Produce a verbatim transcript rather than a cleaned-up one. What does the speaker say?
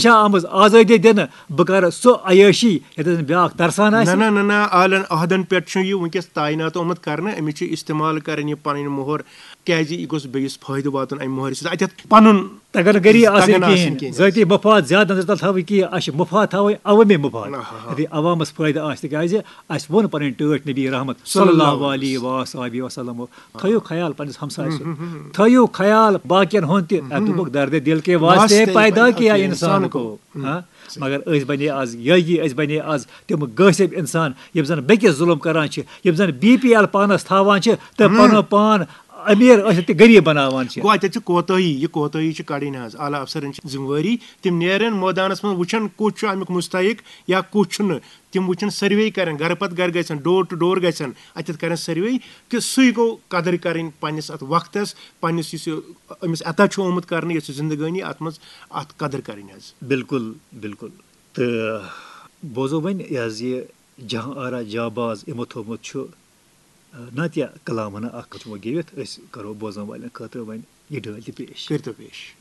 چھا آمٕژ آزٲدی دِنہٕ، بہٕ کَرٕ سُہ عیٲشی ییٚتٮ۪تھ نہٕ بیٛاکھ ترسان نہ آسہِ۔ نہ نہ نہ عالن عہدن پٮ۪ٹھ چھُ یہِ وٕنکیٚس تعینات آمُت کرنہٕ، أمِس چھُ استعمال کرٕنۍ یہِ پنٕنۍ مۄہر، کیازِ یہِ گوٚژھ بیٚیِس فٲیدٕ واتُن امہِ مۄہرِ سۭتۍ۔ اتٮ۪تھ پنُن تگن گٔری آسٕنۍ تگن آسٕنۍ کِہیٖنۍ، کِہیٖنۍ۔ ذٲتی مفاد زیادٕ نظر تل تھاوٕنۍ کِہیٖنۍ، اَسہِ چھِ مفاد تھاوٕنۍ عوٲمی مفاد۔ آہا۔ یُتھُے عوامس فٲیدٕ آسہِ، تِکیازِ اَسہِ ووٚن پنٕنۍ ٹٲٹھۍ نبی رحمت صلی اللہ علیہ و صحبہ وسلم، تھٲیِو خیال پننِس ہمسایہِ سُنٛد، تھٲیِو خیال باقین ہُنٛد تہِ۔ اَتھ دوٚپُکھ، درد دل کے واسطے پیدا کیا انسان کو۔ ہاں؟ مگر أسۍ بنے آز یٲگی، أسۍ بنے آز تِم غٲصب انسان، یِم زن بیٚکِس ظلم کران چھِ، یِم زن بی پی ایل پانس تھاوان چھِ تہٕ پنُن پان امیر ٲسِتھ تہِ غریب بناوان چھِ۔ گوٚو اتٮ۪تھ چھِ کوتٲہی، یہِ کوتٲہی چھِ کڑٕنۍ حظ۔ اعلیٰ افسرن چھِ ذمہٕ وٲری، تِم نیرن مٲدانس منٛز، وٕچھن کُس چھُ امیُک مستحق یا کُس چھُنہٕ۔ تِم وٕچھن، سروے کرن، گرٕ پتہٕ گرٕ گژھن، ڈور ٹو ڈور گژھن، اتٮ۪تھ کرن سروے، کہِ سُے گوٚو قدٕر کرٕنۍ پننِس اتھ وقتس، پننِس یُس یہِ أمِس عطا چھُ آمُت کرنہٕ، یۄس یہِ زندگٲنی، اتھ منٛز اتھ قدٕر کرٕنۍ حظ۔ بالکل، بالکل۔ تہٕ بوزو وۄنۍ یہِ حظ یہِ جہاں آرا جاں باز یِمو تھوٚومُت چھُ، نعتیہ کلام ہنا اکھ چھُ وۄنۍ گیٚوِتھ، أسۍ کرو بوزن والٮ۪ن خٲطرٕ وۄنۍ یہِ ڈٲلۍ تہِ پیش۔ کٔرۍتو پیش۔